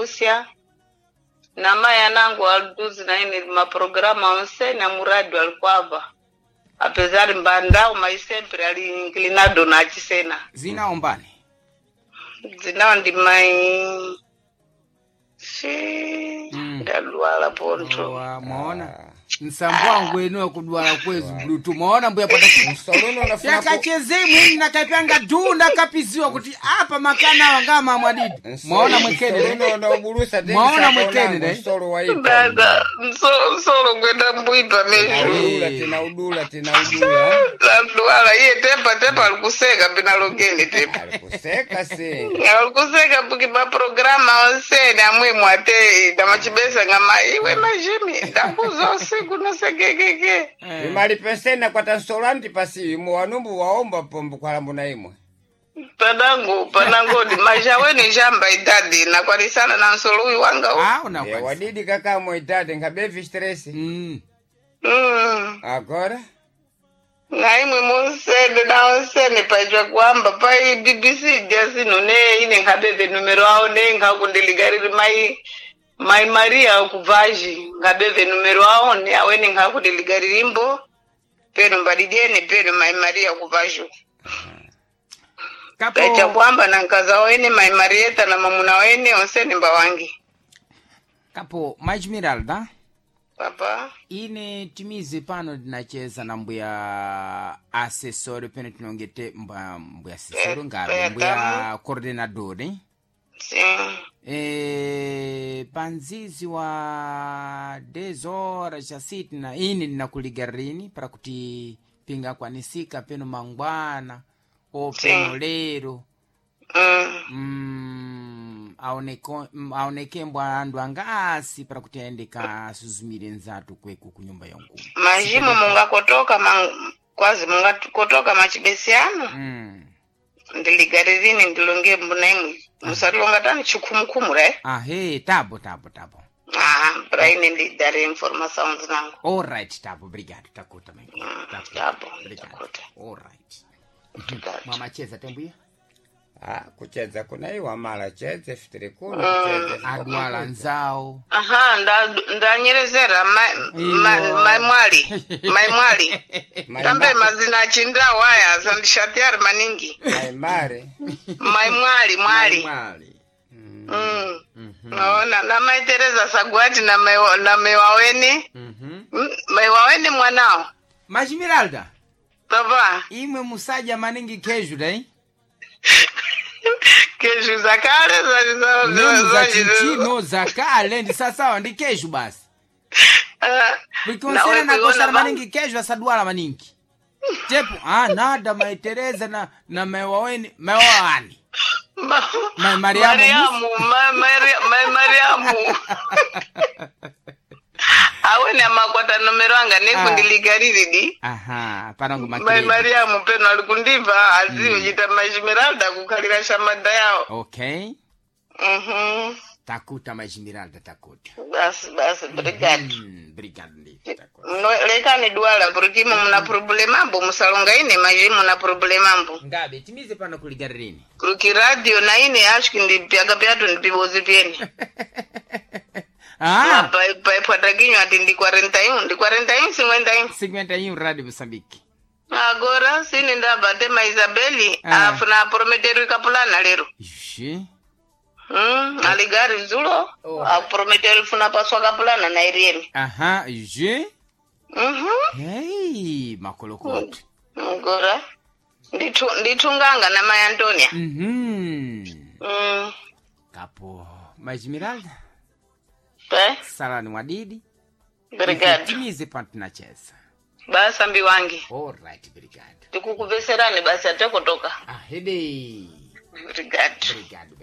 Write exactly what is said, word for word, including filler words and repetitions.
Lúcia na mai anangu alduzi na ine maprograma onse na muradi alikwava apesar mbandau mas sempre ali inclinado na achisena Zina ombani. Zinawo ndi mai si Mm. ndadwala ponto. Owa, mwaona nsambo wangu eno kudwala kwezi bluetooth mwaona mbuya pata Msolono unafuna ku- yakacheze mwini nakaipanga du ndakapiziwa kuti apa makana awa ngama mwadidi mwaona mwekene Msolono ne? unaubulusa tena Mwaona saka mwekene, unango, ne? msolo waipa. Dada mso- msolo ngwenda mbwipa mesho. Udula tena udula tena udula. Ndadwala iye tepa tepa alikuseka pinalongeni tepa Alikuseka se. alikuseka puki maprograma onsene amwemwe ate damachibesa ngama iwe majimi ndakuza usiku nosekekeke. Imali pensena kwa tansolandi pasi imwe wanumbu waomba pombo kwa mbona imwe. Padangu panangodi majaweni jamba idadi nakwanisana na nsolo uyu wanga u. Ah, Eh, unakwanisa. wadidi kaka moitade ngabevi stress. Mm. Mm. Agora Na imwe munsene na onsene paijwa kuamba pai B B C jasino ne ine nkabebe numero awo ne nkakundiligariri mai mai Maria kuvaji nkabebe numero awo ne awene nkakundiligaririmbo peno mbadidiene peno mai Maria kuvaji Kapo paija kuamba na nkaza wene mai Marieta na mamuna wene onsene mbawangi. Kapo Majmiralda. Papa. Ine timize pano tinacheza na mbuya asesori pene tinongete mba mbuya asesori ngabe Eh, mbuya coordinador eh? Sim. E, panzizi wa dez horas chasiti na ine ndinakuligarini para kuti pingakwanisika peno mangwana o peno Sim. lero. Mm. mm, aoneko- mm, aonekembwa andu angasi para kuti aende kasuzumire nzatu kweku kunyumba ya nkulu. Majimo mungakotoka man, kwazi mungakotoka machibesiano. mm. Ndiligaririne ndilonge mbuna imwe musatilonga tani chikhumukhumura eh? Ahe, tabo tabo tabo. Ah, pra ine ndidare informação zinangu. Alright, tabo, obrigado, takuta mai. Mm, Takuta. tabo. Obrigado. Takuta. Alright. Obrigado. Mwamacheza tembuya. Ah, kucheza kuna iwa mala cheze fitiri kuno kucheze. Adwala nzawo. Aha, nda- ndanyerezera mai ma- mai mwali mai mwali Mai tambe ma- mazina achindawo aya asandishatiari maningi. Mai mare. Mai mwali mwali. Mwali. Mm. Naona na mai Teresa Sagwati na mai na mai waweni. Mhm. Mm, mai waweni mwanao. Majimiralda, Baba. imwe musaja maningi keju dai. Kesho za kale za za Nemu za za chichino za kale ndi sasawa ndi keju basi. Ah, Vikonsera na kuiona kosara ba- maningi keju asadwala maningi. Tepu, ah nada mai Teresa na na mai waweni, mai wawani. Ma- Mai Mariamu. Mariamu, ma- Maria- mai Mariamu. Awene amakwata nomero anga nekundiligariri di. Aha, panango Mai makiredi. Mariamu peno alikundibva aziwe chita Majimiralda kukhalira shamada yawo. Okay. Mhm. Takuta Majimiralda takuta. Basi basi, obrigado. Mm, obrigado ndi takuta. No, lekani dwala porque imo muna problema ambo musalonga ine maji muna problema ambo. Ngabe timize pano kuligarini. Kuki radio na ine acho que ndipyaga pyatu ndipibozi pyene. Ah, Paipwatakinywa ati ndi quarenta e um, ndi quarenta e um, cinquenta e um. cinquenta e um Rádio Moçambique. Agora sine ndabva tema Isabeli Ah. afuna aprometeru ikapulana lero. Ixi. Mm, aligari zulo Oh. aprometeru funa paswa kapulana na irieni. Aha, ixi. Mhm. Hey, makolokoto. Agora ndithu ndithunganga na mai Antonia. Mhm. Mm. Kapo. Majimiralda, Pe? salani wadidi. Obrigado. Timize pano tinacheza. Basa mbi wangi. All right, obrigado. Tikukuveserani basi atekotoka. Ahede. Obrigado. Obrigado.